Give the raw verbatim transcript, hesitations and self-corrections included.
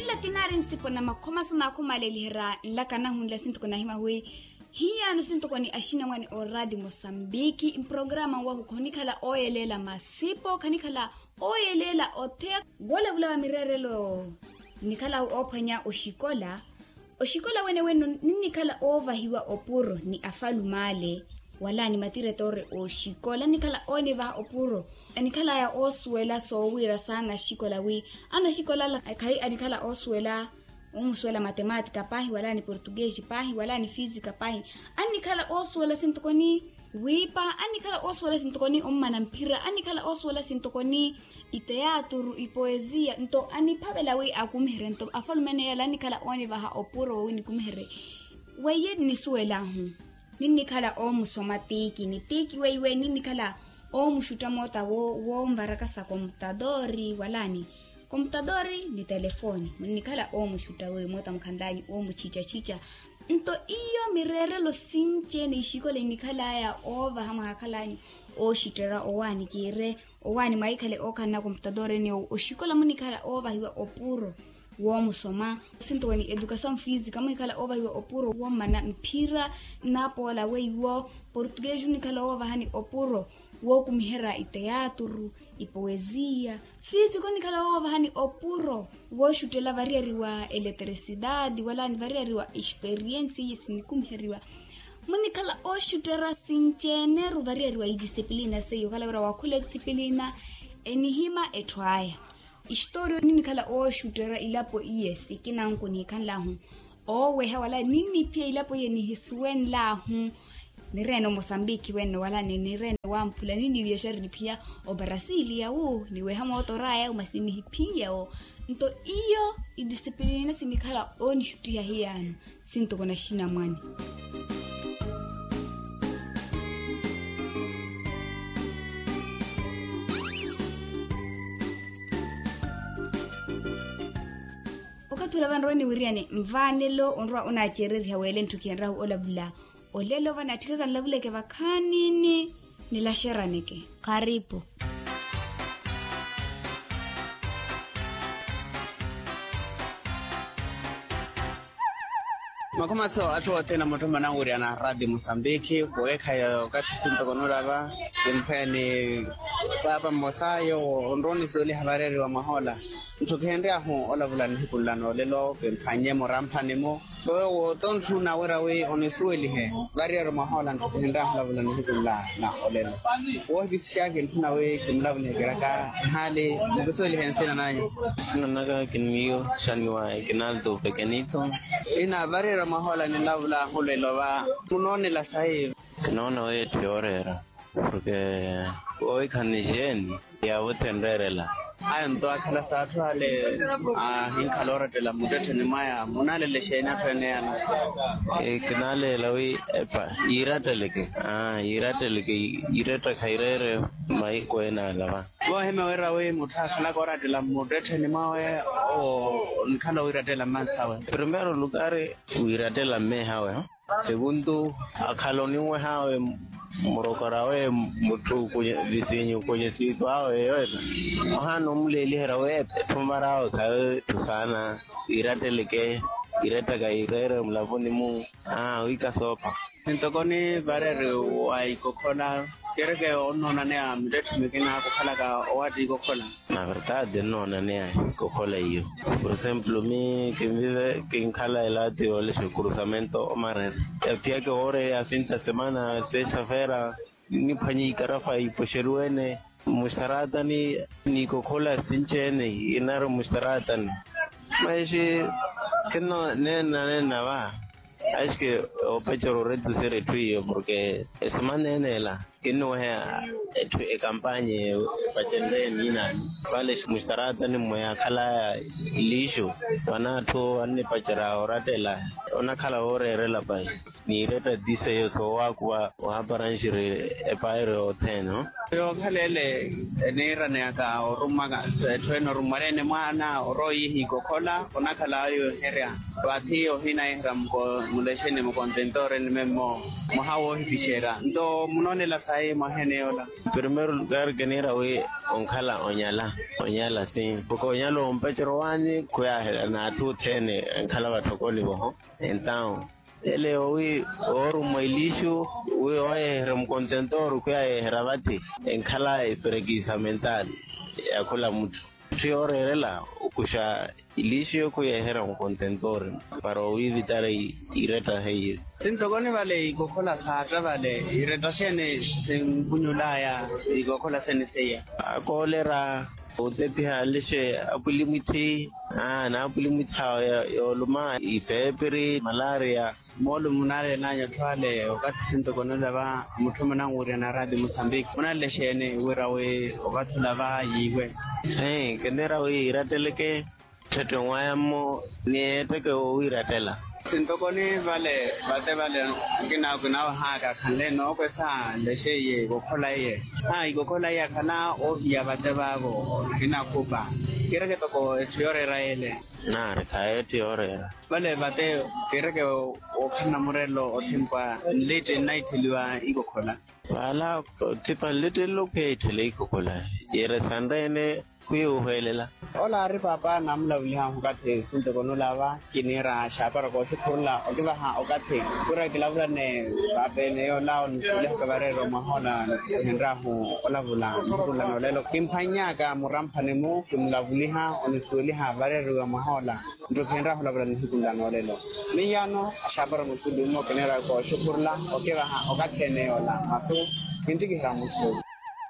Ila tinaari nsipo na makhoma sa naakhumaaleliherya nlaka nahu nla sintoko nahimya wi hiyaano sintoko ni axinamwane oraati mosambiki mprograma nwahu khonikhala ooyeleela masipo khanikhala ooyeleela otheya. Woolavula wa mireerelo nnikhala oophwanya oxikola. Oxikola wene wene ninnikhala oovahiwa opuro ni afalume ale wala ni matiretoore oxikola annikhala oonivaha opuro. Anikhalaya oosuwela soowiira saana axikola wi anaxikola ala khayi anikhala oosuwela omusuwela matematika paahi wala ni portuguese paahi wala ni fisika paahi. Annikhala oosuwela sintoko ni wiipa annikhala oosuwela sintoko ni ommana mphira annikhala oosuwela sintoko ni iteaturu ipoesia nto aniphavela wi akumiherye nto afalume ene yale annikhala oonivaha opuro wowi nikumiherye. Weiye nnisuwel'ahu ninnikhala oomusoma tiiki ni tiiki weiwe ninnikhala oomuxutta moota wonvaraka sa komputatori wala ni komputatori ni telefoni munnikhala oomuxutta weiwe moota mukhanl'anyu oomuchichachicha. Nto iyo mireerelo sinci-ene ixikola innikhal'aya oovaha mwaakhal'anyu ooxutterya owaani kiire owaani mwahikhale ookhalana komputatori ene oxikola munnikhala oovahiwa opuro woomusoma. Sintoko ni edukasamu fisika munnikhala oovahiwa opuro woomana mphira nnapoola weiwo portuguese onnikhala oovahani opuro wookumiherya iteaturu ipoesia. Fisika onnikhala oovahani opuro wooxuttela variyariwa eletrisidadi wala ni variyariwa experiensi iye sinikumiheriwa. Munnikhala ooxutterya sinci-ene ru variyariwa idisipilina seiyo okhala wira waakhula edisipilina enihimya etthu aya. Istoriya ninnikhala ooxutterya ilapo iye sikina nkunihikhanl'ahu ooweha wala ninniphiya ilapo iye nihisuwenl'ahu. Nireene omosambiki wene wala nireene wamphula ninniviyaxa riniphiya obarasiliya wu niweha mootor'aya wu masi nihiphiya wo. Nto iyo idisipilina sinikhala oonixuttiha hiyaano sintoko naxinamwane. Okathi ula vanrowe niwiriyane nvaanelo onrowa onaacereriha weele ntthu kihenrahu olavula. Olelo vanaatthikaka nlavuleke vakhaanini nilaxeraneke. Kharipu. Makhomaso atthu othene amutthuma nanwiriyana raati musambikhi kuwekhaya okathi sintoko nulava. Kimpheni paapa mmosa yoowo onrowa onisuweliha vareeriwa mwahoola. Ntthu kihenryahu olavula nihiku nla noolelo kimphannye muramphani-mu. Yoowo tontthu nawira wi onisuwelihe variyari mwahoola ntthu kihenryahu olavula nihiku nla na olelo. Woohikisixaki ntthuna wi kimulavulihekeryaka nhaali mukisuwelihe nsina nanyu. Nsina naka kinmiyo xaniwa ekinalto pekenito. Ina variyari mwahoola nilavula ahulelo va munoonela sayi. Kinoona wi etthu yooreera porke woowikhani xeeni. Yaavuthe nreerela. Aya nto akhala s'atthu ale ahinkhala orattela mmuttettheni mwaya munaalele xeeni atthu ene yala? Kinaleela wi epa yiiratteleke yiiratteleke yiirettakha yireere. Mahiku ene alava. Voohimya wira wi mutthu akhalaka orattela mmuttettheni mwawe owo onikhala owiirattela mmansawe. Primeiro lukari wiirattela mmehawe. Seguntu akhala oninweh'awe murokora awe mutthu visinyu konyesitu awe yoyo. Ohaana omuleeliherya wi etthu mar'awe khayo etthu saana. Iratteleke irettaka ireere mulavuni-mu. Aa wikasoopa. Sintoko nivareeri wa ikokhola kereke onnoonaneya mittettho mikina kukhalaka owaatta ikokhola. Na verdade nnoonaneya ikokhola iyo. Por exemplo mi kinvive kinkhala elaati yoolexa okurusamentu omarere. Yaphiyaka ewooreya finta semana sexta-feira niphwanye ikarafa ipoxeriwene. Muxtaraatani n'ikokhola sinci-ene inari muxtaraatani. Maxi kinno neena neena va. Axike opecera oretusera etthu iyo porke esemana ene ela kinnuweheya etthu ekampanye epacenreye niinaani. Vale muxtaraatani mmo yaakhalaya lixu vana atthu annipacera orattela. Onakhala wooreerela pahi niiretta ti seiyo soowaakuva ohaparanxiri epairo yothene. Yookhala ele eniiraneyaka orummaka etthu ene orummwaleene mwaana orowa oyiha ikokhola onakhala ayo oherya. Vathi ohina iherya mulexeni mukontentooreni memmo mwaha woohipixerya nto munoonela. Ayi mwaheene yoola. Primeiro lugar kiniira wi onkhala onyala onyala si. Porque onyala ompecero waanyi khuyaaherya n'atthu othene enkhala vatthokoni voho. Entaw ele wi oorumwa ilixu wi ooyeherya mukontentoro khuyaayeherya vathi enkhala eperekiisa mental ya khula mutthu. Etthu yooreerela okuxa ilixu eyo khuyeeherya mukontentoro para owiivitara iretta heiye. Sintokoni vale ikokhola saatta vale iretta xeene sinkunyul'aya? Ikokhola sene seiya akoolera otepiha nlixe apwilimwithi. Aa n'apwilimwitha yooluma ipeepiri malaria. Moolumo munaalel'anyu atthu ale okathi sintokonela va mutthu munanwirya na raati musambiki munanlexeene wira wi okathi ola va yiiwe? Kiniira wi iratteleke. Tthette onwaya-mo ni etteke woowiirattela. Sintokoni vale vate vale. Kinawahaaka khanle nookwesa nlexeiye ikokhola iye. Aa ikokhola iye akhala oohiya vate vaavo. Kinakhupa kiireke toko etthu yooreera yeele. Naari khaya etthu yooreera. Vale vate kiireke wookhalana murelo othipa nlitti nnaittheliwa ikokhola. Vaala othipa nlitti nlo khuyaitthela ikokhola. Yeere sanreene khuyuuhwelela. Ola aari paapa naamulavulihahu okathi sintokonela va kiniira xaapara kooxukhurula okivaha okathi. Khuira kilavulane paapa ene yoola onisuwelihaka vareeriwa mwahoola. Khenryahu olavula nihiku nla noolelo kimphwanny'aka muramphani-mu kimulavuliha onisuweliha vareeriwa mwahoola. Nto khenryahu olavula nihiku nla noolelo. Miyaano axaapara muttuli-mo kiniira kooxukhurula okivaha okathi ene yoola masu. Kinttikiherya muttuli.